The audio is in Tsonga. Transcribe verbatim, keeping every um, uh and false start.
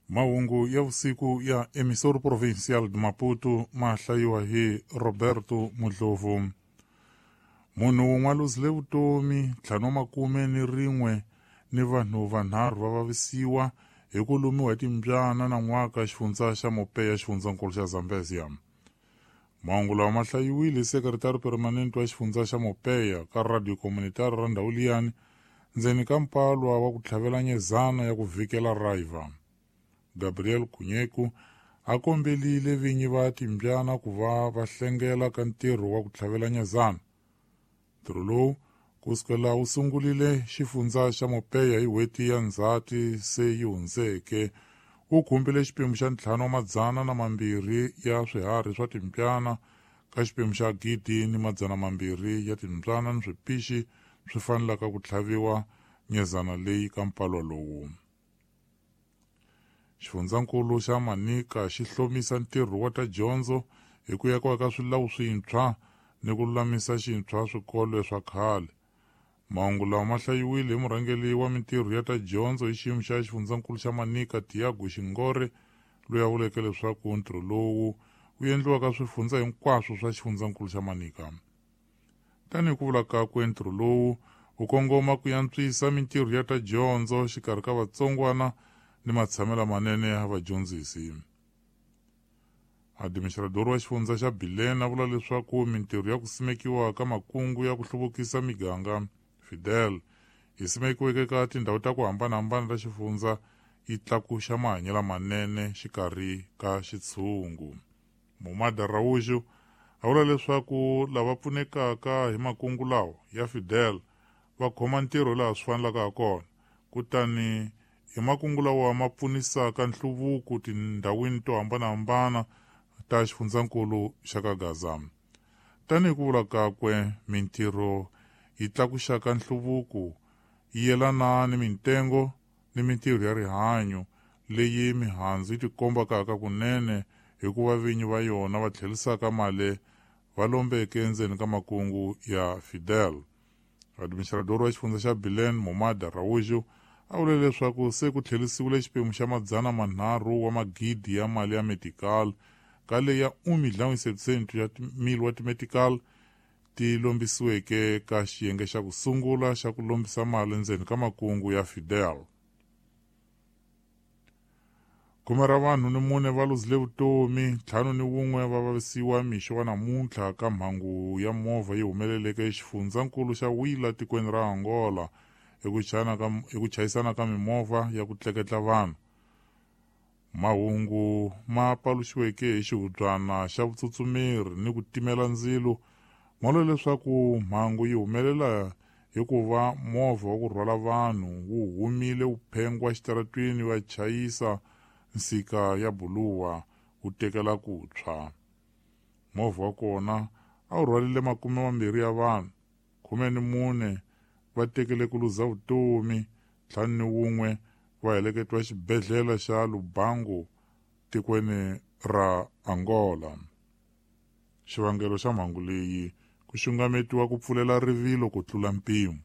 Mahungu ya vusiku ya Emissora Provincial de Maputo ma hlayiwa hi Roberto Mudlovu. Munhu wun'we a luzile vutomi, ntlhanu wa makume ni rin'we ni vanhu vanharhu va vavisiwa hi ku lumiwa hi timbyana nan'waka xifundza xa Mopeya xifundzankulu xa Zambezia. Mahungu lawa ma hlayiwile hi sekretari permanente wa xifundza xa Mopeya ka Radio Comunitaria ra ndhawu liyani ndzeni ka mpalwa wa ku tlhavela nyezana ya ku vhikela raiva. Gabriel Kunyeku a kombelile vinyi va timbyana ku va va hlengela ka ntirho wa ku tlhavela nyezana. Ntirho lowu kusukela wu sungulile xifundza xa Mopeya hi n'hweti ya Ndzhati se yi hundzeke wu khumbile xiphemu xa ntlhanu wa madzana na mambirhi ya swiharhi swa timbyana ka xiphemu xa gidi ni madzana mambirhi ya timbyana ni swipixi swi fanelaka ku tlhaviwa nyezana leyi ka mpalwa lowu. Xifundzankulu xa Manika xi hlomisa ntirho wa ta dyondzo hi ku yakiwa ka swilawu swintshwa ni ku lulamisa xintshwa swikolo swa khale. Mahungu lawa ma hlayiwile hi murhangeri wa mintirho ya ta dyondzo hi xiyimo xa xifundzankulu xa Manika Tiago Xingore loyi a vuleke leswaku ntirho lowu wu endliwa ka swifundza hinkwaswo swa xifundzankulu xa Manika. Tanihi ku vula kakwe, ntirho lowu wu kongoma ku antswisa mintirho ya ta dyondzo xikarhi ka vatsongwana ni matshamelo manene ya vadyondzisi. Administrador wa xifundza xa Bilene a vula leswaku mintirho ya ku simekiwa ka makungu ya ku hluvukisa miganga Fidel yi simekiweke ka tindhawu ta ku hambanahambana ta xifundza yi tlakuxa mahanyelo manene xikarhi ka xitshungu. Momada Raújo a vula leswaku lava pfunekaka hi makungu lawa ya Fidel va khoma ntirho laha swi fanelaka ha kona, kutani hi makungu lawa ma pfunisaka nhluvuko tindhawini to hambanahambana ta xifundzankulu xa ka Gaza. Tanihi ku vula kakwe, mintirho yi tlakuxaka nhluvuko yi yelana ni mintengo ni mintirho ya rihanyo leyi mihandzu yi tikombaka kunene hikuva vinyi va yona va tlherisaka mali va lombeke endzeni ka makungu ya Fidel. Administrador wa xifundza xa Bilene Momada Raújo a vule leswaku se ku tlherisiwile xiphemu xa madzana manharhu wa magidi ya mali ya medical ka leyi ya un milhão e setecentos ya mil wa timedical ti lombisiweke ka xiyenge xa ku sungula xa ku lombisa mali endzeni ka makungu ya Fidel. Khume ra vanhu ni mune va luzile vutomi, ntlhanu ni wun'we va vavisiwa mixo wa namuntlha ka mhangu ya movha yi humeleleke exifundzankulu xa Huila tikweni ra Angola hi ku chayisana ka mimovha ya ku tleketla vanhu. Mahungu ma paluxiweke hi xihubyana xa vutsutsumeri ni ku timela ndzilo ma vula leswaku mhangu yi humelela hikuva movha wa ku rhwala vanhu wu humile wu phengwa xitaratwini wa chayisa nsika ya buluwa wu tekela ku tshwa. Movha wa kona a wu rhwalile makume mambirhi ya vanhu, khume ni mune va tekele ku luza vutomi, ntlhanu ni wun'we va heleketiwa xibedhlele xa Lubango tikweni ra Angola. Xivangelo xa mhangu leyi ku xungametiwa ku pfulela rivilo ku tlula mpimo.